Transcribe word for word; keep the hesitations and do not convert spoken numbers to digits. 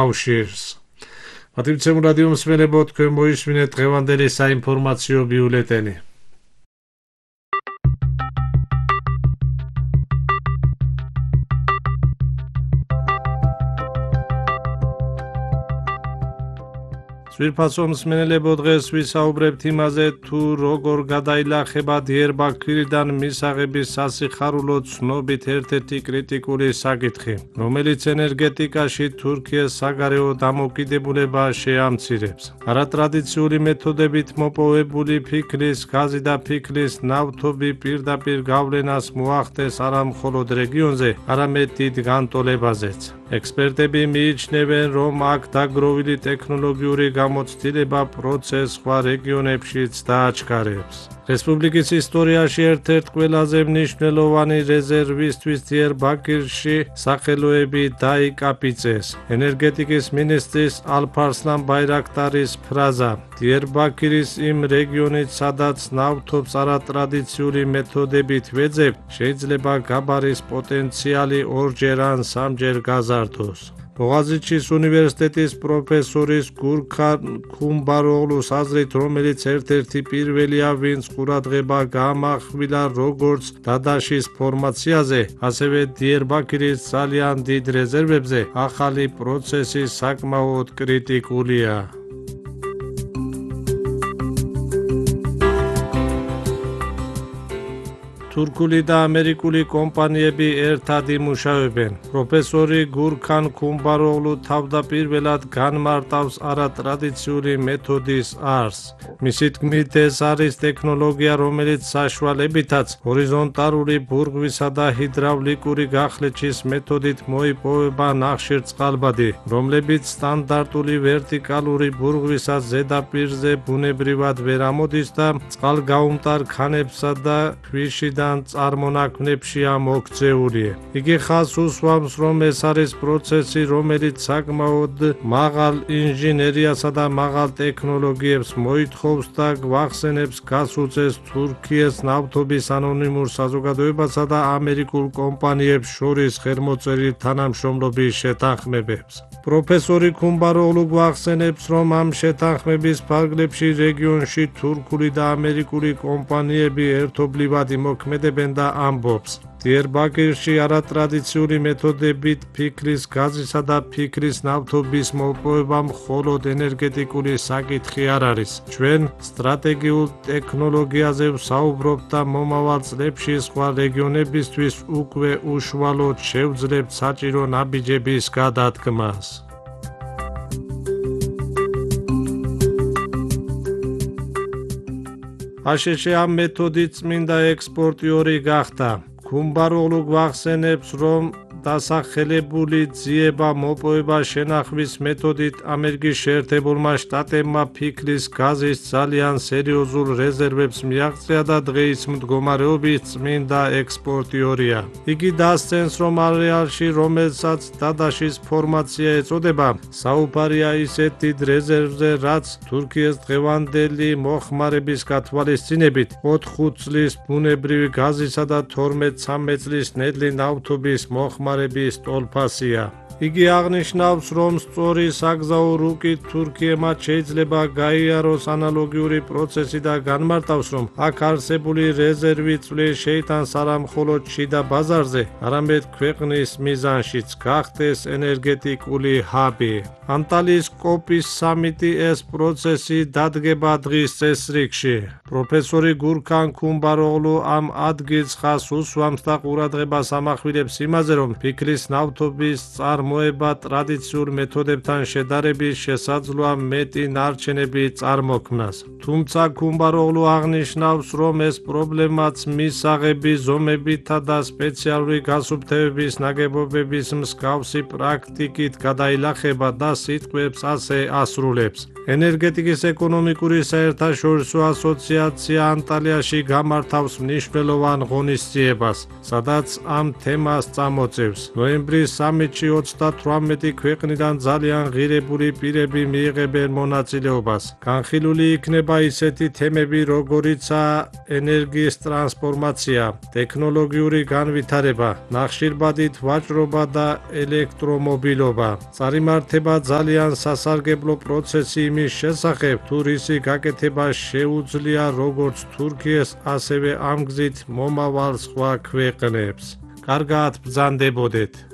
კავშირს. მადლობთ რადიო მსმენელებო, თქვენ მოისმინეთ დღევანდელი საინფორმაციო ბიულეტენი. ძვირფასო მსმენელებო, დღეს ვისაუბრებთ იმაზე, თუ როგორ გადაილახება დიერბაქირიდან მისაღების სასიხარულო ცნობით ერთ-ერთი კრიტიკული საკითხი, რომელიც ენერგეტიკაში თურქიას საგარეო დამოუკიდებულებას შეამცირებს. არატრადიციული მეთოდებით მოპოვებული ფიქლის, გაზი და ფიქლის ნავთობი პირდაპირ გავლენას მოახდენს არა მხოლოდ რეგიონზე, არამედ დიდ განტოლებაზეც. ექსპერტები მიიჩნევენ, რომ აქ დაგროვილი ტექნოლოგიური გამოცდილება პროცესს სხვა რეგიონებშიც დააჩქარებს. რესპუბლიკის ისტორიაში ერთ-ერთ ყველაზე მნიშვნელოვანი რეზერვისთვის დიერბაქირში სახელოები დაიკაპიწეს. ენერგეტიკის მინისტრის ალფარსლან ბაირაქტარის ფრაზა დიერბაქირის იმ რეგიონით, სადაც ნავთობს არატრადიციული მეთოდებით ვეძებთ, შეიძლება გაბარის პოტენციალი ორჯერ ან სამჯერ გაზარდოს. ბოღაზიჩის უნივერსიტეტის პროფესორის გურქან ქუმბაროღლუს აზრით, რომელიც ერთ-ერთი პირველია, ვინც ყურადღება გაამახვილა როგორც დადაშის ფორმაციაზე, ასევე დიერბაქირის ძალიან დიდ რეზერვებზე, ახალი პროცესი საკმაოდ კრიტიკულია. თურქული და ამერიკული კომპანიები ერთად იმუშავებენ. პროფესორი გურქან ქუმბაროღლუ თავდაპირველად განმარტავს არატრადიციული მეთოდის არსს. მისი თქმით, ეს არის ტექნოლოგია, რომელიც საშუალებითაც ჰორიზონტალური ბურღვისა და ჰიდრავლიკური გახლეჩის მეთოდით მოიპოვება ნახშირწყალბადი, რომლებიც სტანდარტული ვერტიკალური ბურღვისას ზედაპირზე ბუნებრივად ვერ ამოდის და წყალგაუმტარ ქანებსა და ქვიშიდან წარმონაქმნებშია მოქცეული. იგი ხაზს უსვამს, რომ ეს არის პროცესი, რომელიც საკმაოდ მაღალ ინჟინერიასა და მაღალ ტექნოლოგიებს მოითხოვს და გვახსენებს გასუწეს თურქიის ნავთობის ანონიმურ საზოგადოებასა და ამერიკულ კომპანიებს შორის ხელმოწერილ თანამშრომლობის შეთანხმებებს. პროფესორი ქუმბაროღლუ გვახსენებს, რომ ამ შეთანხმების ფარგლებში რეგიონში თურქული და ამერიკული კომპანიები ერთობლივად იმოქმედებენ და ამბობს. დიერბაქირში არატრადიციული მეთოდებით ფიქლის, გაზისა და ფიქლის ნავთობის მოპოვება მხოლოდ ენერგეტიკული საკითხი არ არის. ჩვენ სტრატეგიულ ტექნოლოგიაზე ვსაუბრობთ და მომავალ წლებში სხვა რეგიონებისთვის უკვე უშუალოდ შევძლებთ საჭირო ნაბიჯების გადადგმას. აშშ ამ მეთოდით წმინდა ექსპორტიორი გახდა. ქუმბაროღლუ გვახსენებს, რომ დასახელებული ძიება მოპოვება შენახვის მეთოდით ამერიკის შეერთებულმა შტატებმა ფიქლის, გაზის ძალიან სერიოზულ რეზერვებს მიაღწია და დღეის მდგომარეობის წმინდა ექსპორტიორია. იგი დასცენს, რომ არეალში, რომელსაც დადაშის ფორმაცია ეწოდება, საუბარია ისეთ დიდ რეზერვზე, რაც თურქიის დღევანდელი მოხმარების გათვალისწინებით ოთხ-ხუთ წლის ბუნებრივი გაზისა და თორმეტ-ცამეტ წლის ნედლი ნავთობის მოხმარების ტოლფასია. იგი აღნიშნავს, რომ სწორი საგზაო რუკით თურქიებმა შეიძლება გაიაროს ანალოგიური პროცესი და განმარტავს, რომ აქ არსებული რეზერვი წვლის შეიტანს არა მხოლოდ შიდა ბაზარზე, არამედ ქვეყნის მიზანშიც გახდეს ენერგეტიკული ჰაბი. ანტალიის კოპის სამიტი ეს პროცესი დადგება დღის წესრიგში. პროფესორი გურქან ქუმბაროღლუ ამ ადგილს ხაზს უსვამს და ყურადღებას ამახვილებს იმაზე, რომ ფიქლის ნავთობის წარმოება ტრადიციულ მეთოდებთან შედარებით შესაძლოა მეტი ნარჩენები წარმოქმნას. თუმცა ქუმბაროღლუ აღნიშნავს, რომ ეს პრობლემაც მისაღების ზომებითა და სპეციალური გასუფთავების ნაგებობების მსგავსი პრაქტიკით გადაილახება და სიტყვებს ასე ასრულებს. ენერგეტიკის ეკონომიკური საერთაშორისო ასოციაცია ანტალიაში გამართავს მნიშვნელოვან ღონისძიებას, სადაც ამ თემას წამოწევს. ნოემბრის სამიტში ოცდათვრამეტი ქვეყნიდან ძალიან ღირებული პირები მიიღებენ მონაწილეობას. განხილული იქნება ისეთი თემები, როგორიცაა ენერგიის ტრანსფორმაცია, ტექნოლოგიური განვითარება, ნახშირბადით ვაჭრობა და ელექტრომობილობა. წარიმართება ძალიან სასარგებლო პროცესი იმის შესახებ, თუ რისი გაკეთება შეუძლია როგორც თურქიას, ასევე ამ გზით მომავალ სხვა ქვეყნებს. კარგად ბრძანდებოდეთ!